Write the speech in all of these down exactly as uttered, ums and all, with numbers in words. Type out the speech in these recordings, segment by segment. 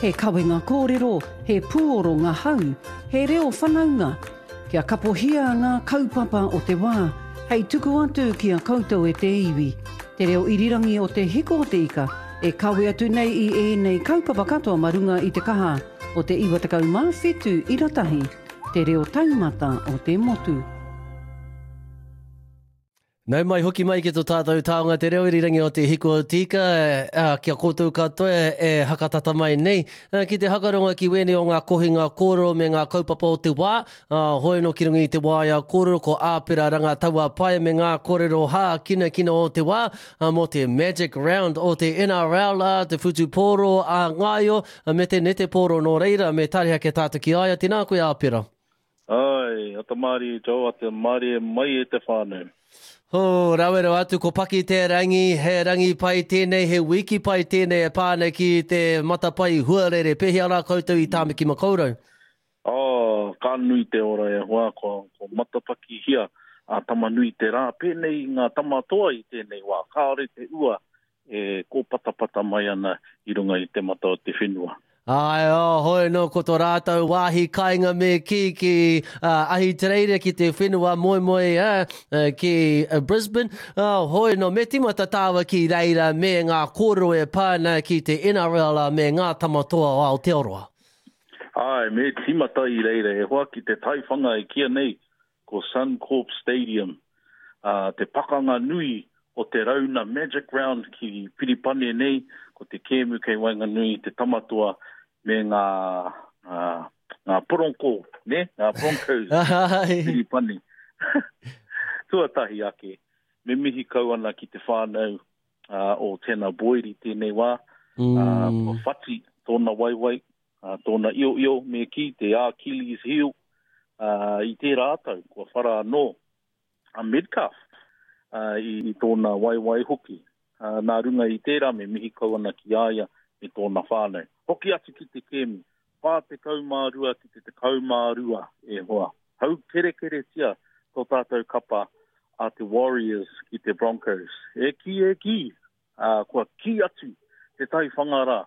He kawenga kōrero, he pūoro ngahau, he reo whanaunga. Kia kapohia ngā kaupapa o te wā, hei tuku atu ki a koutou e te iwi. Te reo irirangi o Te Hiko o te Ika, e kawe atu nei i ēnei kaupapa katoa ma runga i te kaha o te iwa tekau mā whitu ira tahi, te reo taumata o te motu. Nau mai hoki mai ki tō tātou taonga te reo irirangi o Te Hiko o te Ika, ā, ki a koutou katoa e hakatata mai nei, ki te hakaronga ki wēnei o ngā kohinga kōrero me ngā kaupapa o te wā, ā, hoi anō ki runga i te waea kōrero ko Āpera Rangataua-Pae me ngā kōrero hākinakina o te wā, ā, mō te Magic Round o te N R L, ā, te whutupōro a Ngāio, me te netepōro, nō reira, me tareha ke tātou ki a ia. Tēnā koe, Āpera. Ai, ata mārie Joe, ata mārie mai e te whānau. Ho, rawe rawa atu, ko Paki te rangi, he rangi pai tēnei, he wiki pai tēnei e pā ana ki te matapae huarere. Pēhea rā koutou i Tāmaki Makaurau? Oh, ka nui te ora e hoa, ko, ko matapakihia a Tamanui te rā. Pēnei i ngā tamatoa i tēnei wā, kāore te ua e kōpatapata mai ana i runga i te mata o te whenua. Ai, oh, hoi no, ko tō rātou wāhi kāinga me ki, ki, uh, Ahitereiria, ki te whenua moemoe, uh, ki Brisbane. Oh, hoi no, me timata tāua ki reira me ngā kōrero e pā ana ki te N R L me ngā tamatoa o Aotearoa. Ai, me timata i reira e hoa ki te taiwhanga e kia nei, ko Suncorp Stadium. Uh, te pakanga nui o te rauna Magic Round ki Piripane nei, ko te kēmu kei waenganui te tamatoa me ngā, ngā, ngā poronko, ne? Ngā Broncos Piripane. Tuatahi ake, me mihi kau ana ki te whānau, uh, o Tanah Boyd i tēnei wā. Mm. Uh, kua whati tōna waiwai, uh, tōna io-io me ki te Achilles heel, uh, i tērā tau, kua whara anō a Metcalf, uh, i, i tōna waiwai hoki. Uh, nā runga i tērā me mihi kau ana ki a ia me tōna whānau. Hoki atu ki te kēmu, whā tekau mā rua ki te tekau mā rua e hoa. Hau kerekeretia tō tātou kapa a te Warriors ki te Broncos. E ki, e ki, uh, kua ki atu te taiwhanga rā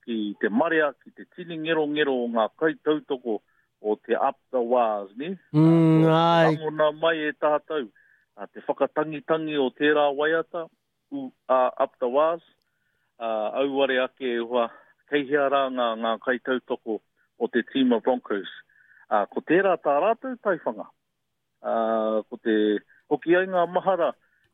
ki te marea, ki te tini ngerongero o ngā kaitautoko o te Up the Wars, ne? Mm, uh, ai. Rangona mai e tātou, uh, te whakatangitangi o tērā waiata, u, uh, Up the Wars, uh, auare ake e hoa, kei hea rā ngā, ngā kaitautoko o te tīma Broncos. Uh, ko tērā tā rātou taiwhanga. Uh, ko te hoki ai ngā mahara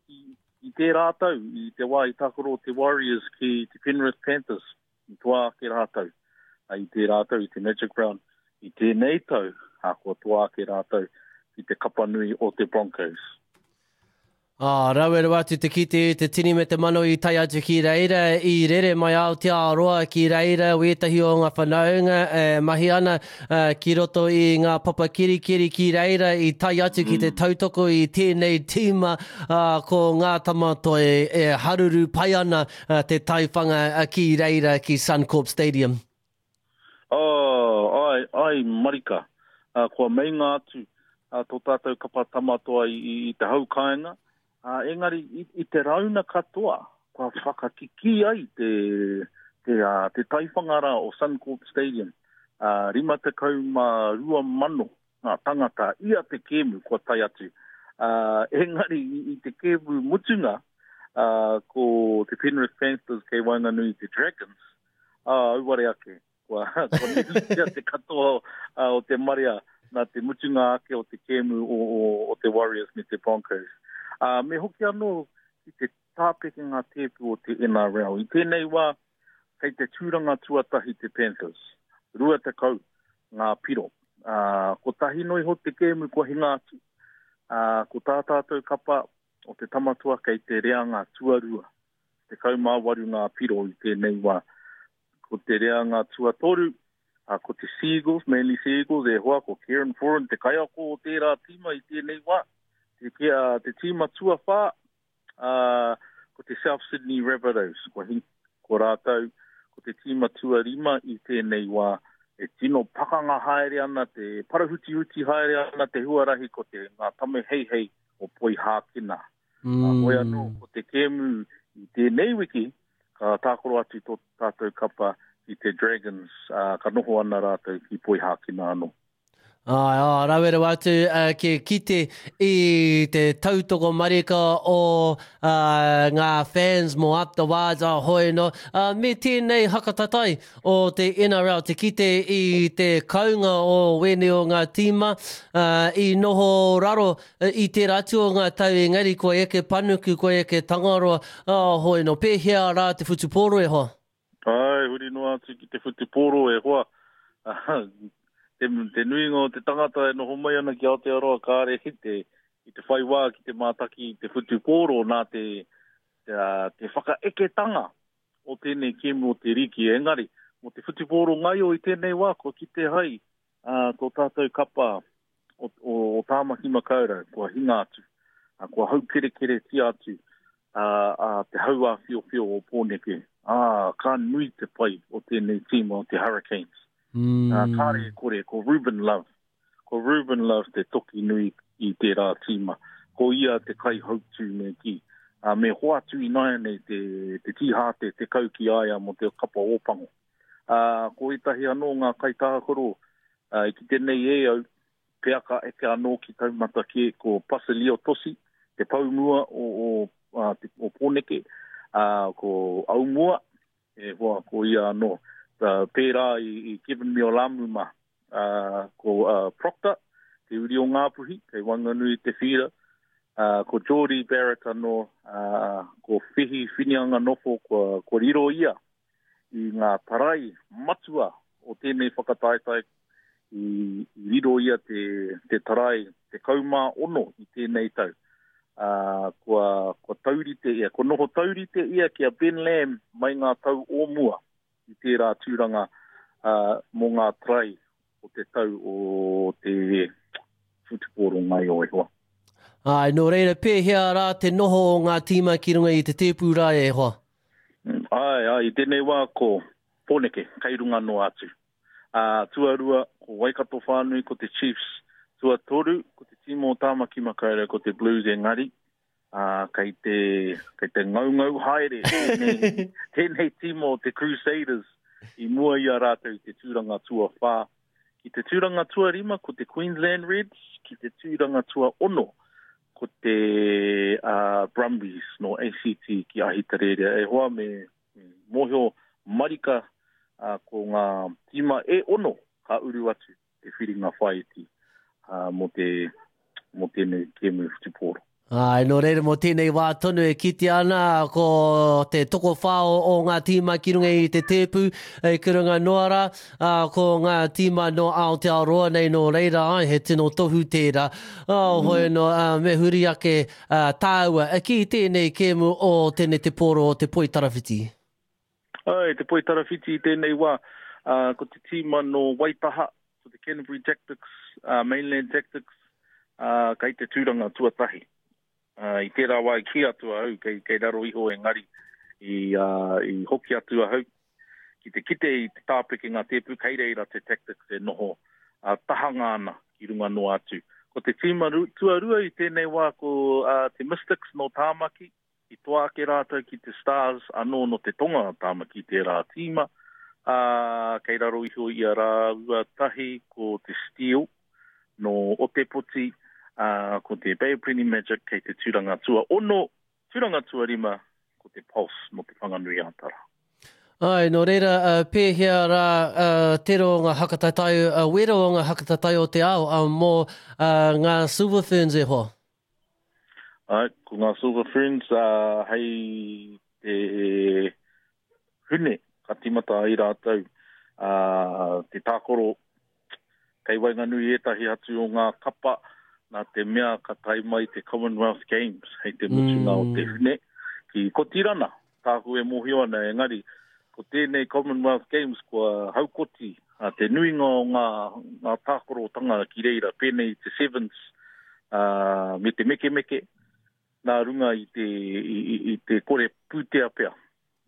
i, i tērā tau, i te wā i tākaro te Warriors ki te Penrith Panthers, i toa ake rātou, uh, i tērā tau, i te Magic Round, i tēnei tau, uh, kua toa ake rātou ki te kapanui o te Broncos. Ah, rawe rawa atu te kite te tini me te mano i tae atu ki reira, i rere mai Aotearoa ki reira, wētahi o ngā whanaunga e mahi ana, eh, ki roto i ngā papa kirikiri ki reira, i tae atu ki te Mm. tautoko i tēnei tīma, ah, ko ngā tamatoa e, e haruru pai ana, eh, te taiwhanga, eh, ki reira ki Suncorp Stadium. Oh, ai, ai marika, ah, kua meinga atu, ah, tō tātou kapa tamatoa i, i, i te hau kāinga. Uh, engari, i, i te rauna katoa, kua whakakiki ai te, te, uh, te taiwhanga rā o Suncorp Stadium. Uh, rima tekau mā rua mano ngā tangata ia te kēmu kua tae atu. Uh, engari, i, i te kēmu mutunga, uh, ko te Penrith Panthers kei waenganui te Dragons, uh, auare ake, kua, kua nehutia te katoa, uh, o te marea nā te mutunga ake o te kēmu o, o, o te Warriors me te Broncos. Uh, me hoki anō ki te tāpeke ngā tēpu o te N R L. I tēnei wā, kei te tūranga tuatahi te Panthers. Rua tekau ngā piro. Uh, kotahi noa iho te kēmu kua hinga atu. Uh, ko tā tātou kapa o te tamatoa kei te reanga tuarua. Tekau mā waru ngā piro i tēnei wā. Ko te reanga tuatoru, uh, ko te Seagulls, Manly Seagulls, e hoa ko Kieran Foran, te kaiako o tērā tīma i tēnei wā. Te, te, uh, te tīma tuawhā, uh, ko te South Sydney Rabbitohs, ko, hi, ko rātou, ko te tīma tuarima i tēnei wā, e tino pakanga haere ana, te parahutihuti haere ana te huarahi ko te ngā tame heihei o Poihākena. Mm. Uh, hoi anō, ko te kēmu i tēnei wiki, ka tākaro atu tō tātou kapa ki te Dragons, uh, ka noho ana rātou ki Poihākina anō. Ai, ai, rawe rawa atu uh, ki kite i te tautoko marika o uh, ngā fans mō Up the Wards a hoi no. Uh, me tēnei hakatatai o te N R L, te kite i te kaunga o wēnei o ngā tīma uh, i noho raro uh, i tērā atu o ngā tau engari kua eke panuku, kua eke tangaroa, uh, hoi no. Pēhea rā te whutupōro e hoa? Ai, huri noa atu ki te whutupōro e hoa. Te, te nuinga o te tangata e noho mai ana ki Aotearoa kāre i te, i te whai wā ki te mātaki i te whutupōro nā te, te, te whakaeketanga o tēnei kēmu o te riki. Engari, mō te whutupōro ngaio i tēnei wā, kua kite hai uh, tō tātou kapa o, o, o Tāmaki Makaurau, kua hinga atu, uh, kua haukerekeretia atu uh, uh, te hauāwhiowhio o Pōneke. Ah, ka nui te pai o tēnei tīma o te Hurricanes. Mm. Uh, kāre e kore, ko Ruben Love. Ko Ruben Love te toki nui i tērā tīma. Ko ia te kaihautū me ki. Uh, me hoatu i nāianei te, te tīhāte, te kau ki aia mō te kapa ōpango. Uh, ko ētahi anō ngā kaitākaro uh, i ki tēnei e au, pea ka eke anō ki taumata kē, ko Pasilio Tosi, te paumua o, o, uh, te, o Pōneke, uh, ko Aumua, e hoa, ko ia anō. Uh, pērā i, i Kevin Miolamu mā, uh, ko uh, Proctor, te uri o Ngāpuhi, kei Wanganui te whira, uh, ko Jordie Barrett anō, uh, ko Whihi Whinianga Nofo, kua, kua riro ia i ngā tarai matua o tēnei whakataetae, i, i riro ia te, te tarai te kaumā ono i tēnei tau. Uh, kua, kua taurite ia, kua noho taurite ia ki a Ben Lamb mai ngā tau o mua i tērā tūranga uh, mō ngā tarai o te tau o te whutupōro ngaio e hoa. Ai, nō reira, pēhea rā te noho o ngā tīma ki runga i te tēpū rā e hoa? Ai, ai, i tēnei wā ko Pōneke, kei runga noa atu. Uh, tuarua, ko Waikato whānui, ko te Chiefs. Tuatoru, ko te tīma o Tāmaki Makaurau, ko te Blues engari. Uh, kei te, kei te ngaungau haere tēnei, tēnei tīma o te Crusaders i mua i a rātou i te tūranga tuawhā. Ki te tūranga tuarima, ko te Queensland Reds, ki te tūranga tuaono, ko te uh, Brumbies no A C T ki Ahitereiria. E hoa me, me mōhio marika uh, ko ngā tīma e ono ka uru atu te whiringa whāiti uh, mō te, mō tēnei kēmu whutupōro. Ai, nō reira mō tēnei wā tonu e kitea ana ko te tokowhā o, o ngā tīma ki runga i te tēpu e ki runga noa rā, ā, ko ngā tīma no Aotearoa nei nō reira, ai, he tino tohu tērā. Oh, hoi no, ā, me huri ake ā, tāua e ki tēnei kēmu o tēnei te pōro o te Poitarawhiti. Ai, te Poitarawhiti i tēnei wā, ā, ko te tīma no Waitaha, ko te Canterbury Tactics, uh, Mainland Tactics, uh, kei te tūranga tuatahi. Uh, i tērā wā i kī atu ahau, kei, kei raro iho engari i, uh, i hoki atu ahau. Ki te kite i te tāpeke ngā tēpu, kei reira te Tactics e noho uh, tahanga ana ki runga noa atu. Ko te tīma tuarua i tēnei wā ko uh, te Mystics no Tāmaki, i toa ake rātou ki te Stars anō no te tonga o Tāmaki tērā tīma. Uh, kei raro iho i a rāua tahi ko te Steel no Otepoti, Uh, ko te Bay of Plenty Magic kei te tūranga tua ono, tūranga tuarima, ko te Pulse no te Whanganui Ātara. Ai, nō reira, uh, pēhea rā uh, tero o ngā hakatatai, uh, wero o ngā hakatatai o te ao uh, mō uh, ngā Silver Ferns e hoa? Ai, ko ngā Silver Ferns uh, hei te hune ka tīmata ai rātou uh, te tākoro kei waenganui ētahi atu o ngā kapa nā te mea ka tae mai te Commonwealth Games hei te mutunga mm. o te hune ki Kotirana, tāku e mōhio ana engari, ko tēnei Commonwealth Games kua haukoti uh, te nuinga o ngā, ngā tākorotanga ki reira, pēnei te Sevens uh, me te mekemeke, nā runga i te, i, i, i te kore pūtea pea.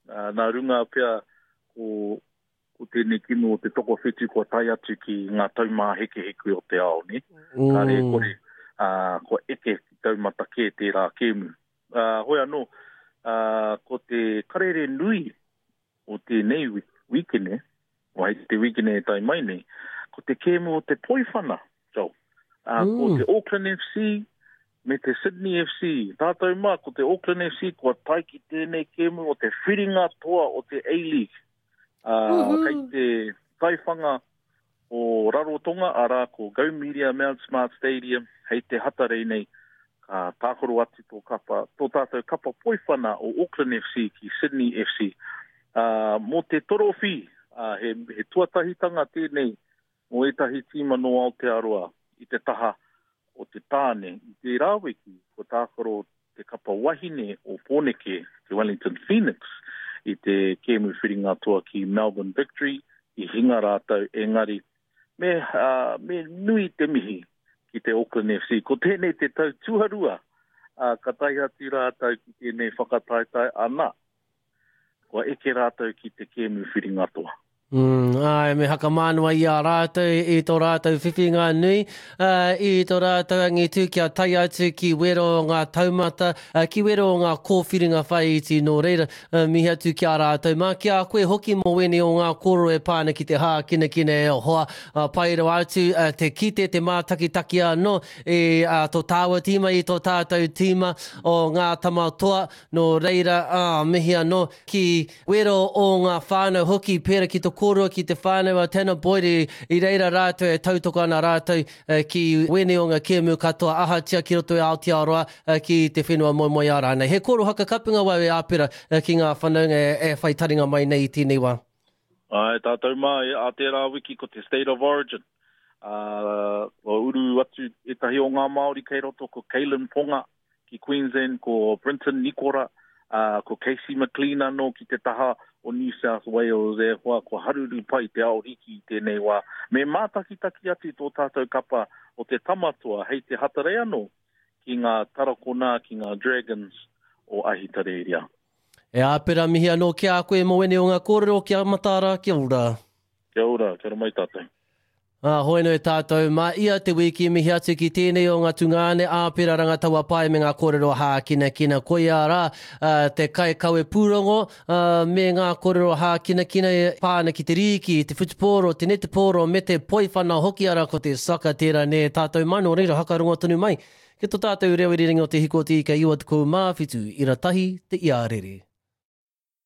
Uh, nā runga pea ko, ko tēnei kino o te tokowhitu kua tae atu ki ngā taumāhekeheke o te ao, ne? Mm. Kāre e kore, uh, kua eke ki taumata kē tērā kēmu. Uh, hoi anō, uh, ko te karere nui o tēnei wikene, o hei te wikene e tai mai nei, ko te kēmu o te poiwhana, Joel. Uh, mm. Ko te Auckland F C me te Sydney F C. Tātou mā, ko te Auckland F C kua tae ki tēnei kēmu o te whiringa toa o te A-League. Uh, kei te taiwhanga o Rarotonga, arā ko Go Media Mount Smart Stadium, hei te Hatarei nei, ka tākaro atu tō, kapa, tō tātou kapa poiwhana o Auckland F C ki Sydney F C. Uh, mō te torowhi, uh, he, he tuatahitanga tēnei mō ētahi tīma nō Aotearoa i te taha o te tāne. I te rāwiki, ko tākaro te kapa wahine o Pōneke, te Wellington Phoenix, i te kēmu whiringa toa ki Melbourne Victory, i hinga rātou engari. Me, uh, me nui te mihi ki te Auckland F C. Ko tēnei te tau tuarua, uh, ka tae atu rātou ki tēnei whakataetae ana. Kua eke rātou ki te kēmu whiringa toa. Mm, ai, me hakamānua i a rātou, i tō rātou whiwhinga nui, uh, i tō rātou angitu kia tae atu ki wero o ngā taumata, uh, ki wero o ngā kōwhiringa whaiiti nō reira, uh, mihi atu ki a rātou. Mā ki a koe hoki mō wēnei o ngā kōrero e pāna ki te hākinakina e hoa, uh, pai rawa atu, uh, te kite, te mātakitaki anō, i uh, tō tāua tīma, i tō tātou tīma o ngā tamatoa, nō reira, uh, mihi anō ki wero o ngā whānau hoki, pēra ki tō kōrua ki te whānau a Tana Boyd i, i reira rātou e tautoko ana rātou eh, ki wēnei o ngā kēmu katoa ahatia ki roto i Aotearoa eh, ki te whenua moemoeā rānei. He kōrero hakakapinga wau e Āpera eh, ki ngā whanaunga e, e whai taringa mai nei i tēnei wā. Ai, tātou mā, a tērā wiki ko te State of Origin. Uh, kua uru atu ētahi o ngā Māori kei roto, ko Kalen Ponga ki Queensland, ko Brenton Nikora, uh, ko Casey McLean anō ki te taha o New South Wales e hoa, ko haruru pai te ao riki i tēnei wā. Me mātakitaki atu tō tātou kapa o te tamatoa hei te Hatarei anō ki ngā tarakona, ki ngā Dragons o Ahitereiria. E Āpera, mihi anō ki a koe mō wēnei o ngā kōrero, kia mataara, kia ora. Kia ora, kia ora mai tātou. Ah, hoeno e tātou, mā ia te wiki mihi atu ki tēnei o ngā tungāne Āpera Rangataua Pae me ngā kōrero hākinakina. Koia rā uh, te kaikawe pūrongo uh, me ngā kōrero hākinakina e pāna ki te rīki, te whutupōro, te netepōro me te poiwhana hoki ara ko te saka tērā ne tātou mai, nō reira hakarongo tonu mai. Ki tō tātou reo irirangi o te Hiko o te Ika iwa tekau mā whitu, ira tahi te iarere.